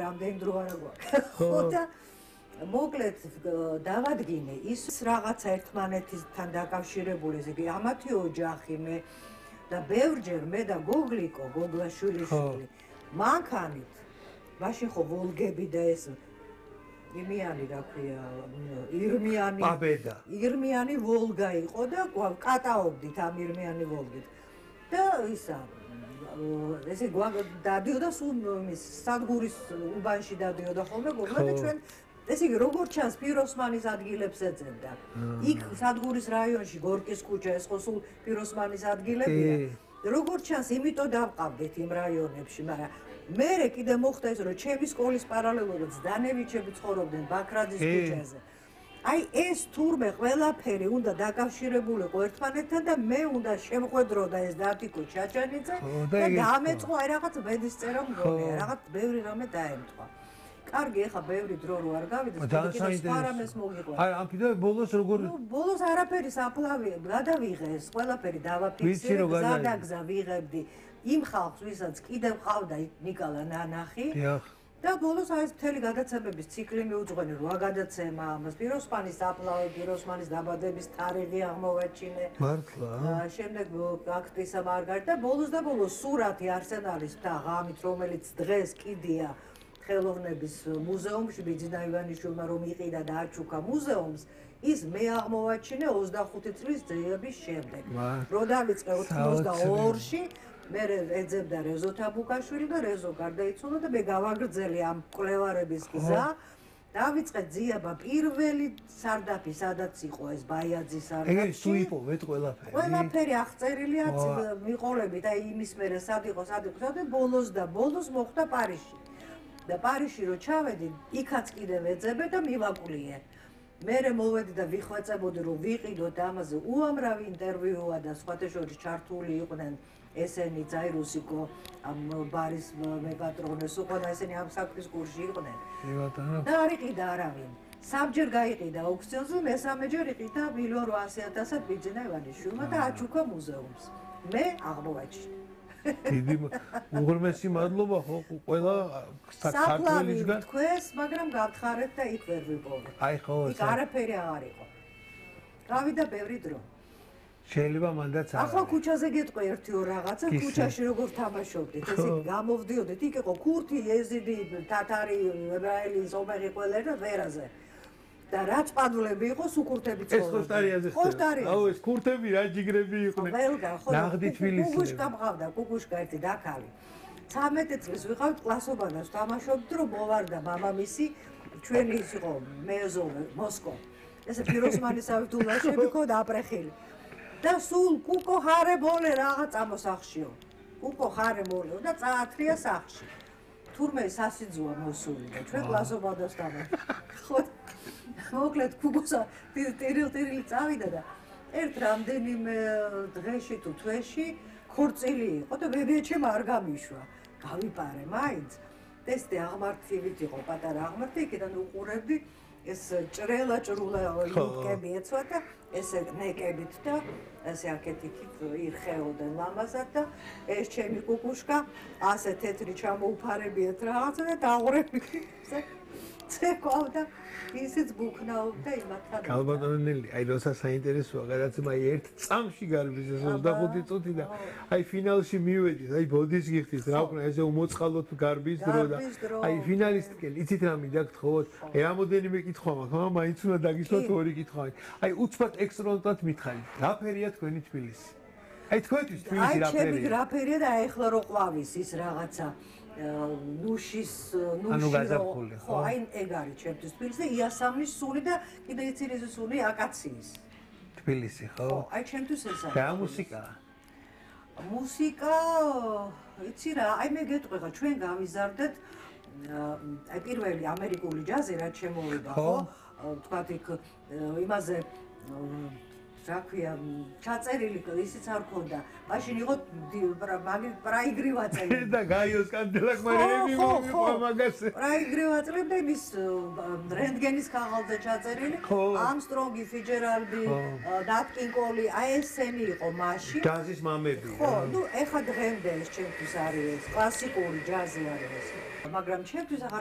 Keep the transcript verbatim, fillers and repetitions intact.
რამდენი დრო არა გვაქვს. ხო და მოკლედ დავადგინე ის რაღაცა ერთმანეთთან დაკავშირებული, ესე იგი ამათი ოჯახი მე და ბევრჯერ მე და გოგლიკო, გოგლაშვილიშვილი მანქანით მაშინ ხო ვოლგები და ეს იმიანი რა ქვია ირმიანი პაბედა ირმიანი ვოლგა იყო და კატაობდით ამ ირმიანი ვოლგით და ისა ესე დადიოდა სულ ის სადგურის უბანში დადიოდა ხოლმე გოგლა და ჩვენ ესე იგი როგორც ჩანს პიროსმანის ადგილებს ეძებდა იქ სადგურის რაიონში გორკის ქუჩა ეს ხო სულ პიროსმანის ადგილებია როგორც ჩანს იმიტომ დავყავდით იმ რაიონებში მაგრამ მერე კიდე მოხდა ის რომ ჩემი სკოლის პარალელურად ზდანევიჩები ცხოვრობდნენ ბაქრაძის ქუჩაზე აი ეს თურმე ყველაფერი უნდა დაკავშირებულიყო ერთმანეთთან და მე უნდა შემხვედრო და ეს დათიკო ჩაჩანიძე და დამეწყო აი რაღაც ბედისწერა მგონია რაღაც ბევრი რამე დაემთხვა კარგი ეხა ბევრი დრო რო არ გავიდეს სპარამეს მოგიყვება აი ამ კიდე ბოლოს როგორ ნუ ბოლოს არაფერი საფლავი გადავიღე ეს ყველაფერი დავაფიქსირე გზადაგზა ვიღებდი იმ ხალხს ვისაც კიდევ ყავდა ნიკალა ნანახი და ბოლოს აი ეს მთელი გადაცემების ციკლი მიუძღვენი რა გადაცემა ამას პიროსმანის საფლავი პიროსმანის დაბადების თარიღი აღმოვაჩინე მართლა შემდეგ აქტისა მარგარიტა და ბოლოს და ბოლოს სურათი არსენალის და ღამით რომელიც დღეს კიდია ხელოვნების მუზეუმში ბიძინა ივანიშვილმა რომ იყიდა და აჩუქა მუზეუმს ის მე აღმოვაჩინე ოცდახუთი წლის ძიების შემდეგ რო დავიწყე ოცდაორში მე ეძებდა რეზო თაბუკაშვილი და რეზო გარდაიცვალა და მე გავაგრძელე ამ კვლევარების გზა დავიწყე ძიება პირველი სარდაფი სადაც იყო ეს ბაიაძის სარდაფი ეს თუ იპოვეთ ყველაფერი ყველაფერი აღწერილია მიყოლებით აი იმის მერე სად იყო სად იყო და ბოლოს და ბოლოს მოხდა პარიზში და პარიზში რო ჩავედი იქაც კიდევ ეძებე და მივაკულიე მერე მოვედი და ვიხვეწებოდი რომ ვიყიდოთ ამაზე უამრავი ინტერვიუა და სხვათა შორის ჩართული იყვნენ ესენი ძაირუსიკო ამ ბარის მეპატრონეს უკვე და ესენი ამ საქმის კურსში იყვნენ და არ იყიდა არავინ სამჯერ გაიყიდა აუქციონზე მესამეჯერ იყიდა მილიონ რვაასი ათასად ბიძინა ივანიშვილმა და აჩუქა მუზეუმს მე აღმოვაჩინე დიდი უღრმესი მადლობა ხო ყველა საქართველოსგან თქვენს მაგრამ გავთხარეთ და იქ ვერ ვიპოვეთ აი ხო იქ არაფერი აღარ იყო გავიდა ბევრი დრო შეიძლება მანდაც ახლა ქუჩაზე გეტყვი ერთი ორ რაღაცა ქუჩაში როგორ თამაშობდით ესე გამოვდიოდით იქ იყო ქურთი ეზიდი თათარი ებრაელი ზომერი ყველერი და ვერაზე და რაც პადლები იყო სუკურთები ცხოვრობდნენ. ეს ხოშტარიაზე ხდება. აუ ეს ქურთები რა ჯიგრები იყვნენ. ნაღდი თბილისი. კუკუშკა მყავდა, კუკუშკა ერთი დაქალი. ცამეტი წლის ვიყავთ კლასობანას თამაშობთ რომ მოვარდა მამამისი ჩვენი ის იყო მეზოვე მოსკო. ესე პიროსმანის ავტულაშები ქონდა აპრეხილი. და სულ კუკო ხარებოლე რაღაც ამოსახშიო. კუკო ხარებოლე და წაათრია სახში. თურმე სასიძუა მოსული და ჩვენ კლასობანას თამაშობთ. ხო მოკლედ კუკოსა ტირილ-ტირილი წავიდა და ერთ რამდენიმე დღეში თუ თვეში ქორწილი იყო და ბებიაჩემ არ გამიშვა. გავიპარე მაინც. ტესტი აღმართივით იყო, პატარა აღმართი, იქიდან უყურებდი ეს ჭრელა ჭრულა ლუკები ეცვა და ესე ნეკებით და ესე აქეთ-იქით ირხეოდნენ ლამაზად და ეს ჩემი კუკუშკა ასე თეთრი ჩამოუფარებიათ რაღაცა და დააღურები ცეკვავდა ისიც ბუქნაობდა იმათთან. კალბატონელი, აი როცა საინტერესოა, გადაცემა აი ერთ წამში გარბის ეს ოცდახუთი წუთი და აი ფინალში მივედით, აი ბოდის გიხდით, რა ვქნა ესე უმოწყალოთ გარბის დრო და აი ფინალისტკენ, იცით რა მინდა გთხოვოთ? აი რამოდენიმე კითხვა მაქვს, მაგრამ მაინც უნდა დაგისვათ ორი კითხვა. აი უცბად ექსტრონტად მითხარით, რა ფერია თქვენი თბილისი? აი თქვენთვის თბილისი რა ფერია? აი ჩემი რა ფერია და აი ახლა რო ყვავის ის რაღაცა ნუშის ნუში ხო აი ეგ არის ჩემთვის თბილისი იასამნის სული და კიდე იცი რისი სული აკაციის თბილისი ხო აი ჩემთვის ეს არის და მუსიკა მუსიკა იცი რა აი მე გეტყვი ხა ჩვენ გავიზარდეთ აი პირველი ამერიკული ჯაზი რაც შემოვიდა ხო თქვათ იქ იმაზე რა ქვია, ჩაწერილი ისიც არ ქონდა. მაშინ იყო მაგ პრაიგრი ვაწევი. და გაიოს კანდელაკ მარები მომიყვა მაგას. პრაიგრი ვაწევი და ის რენტგენის ქაღალდზე ჩაწერილი. ამსტრონგი, ფიჯერალდი, ნატ კინგ კოლი, აი ესენი იყო მაშინ. ჯაზის მამები. ხო, ნუ ეხა დღემდე ეს ჩემთვის არის ეს კლასიკური ჯაზი არის ეს. მაგრამ ჩემთვის აღარ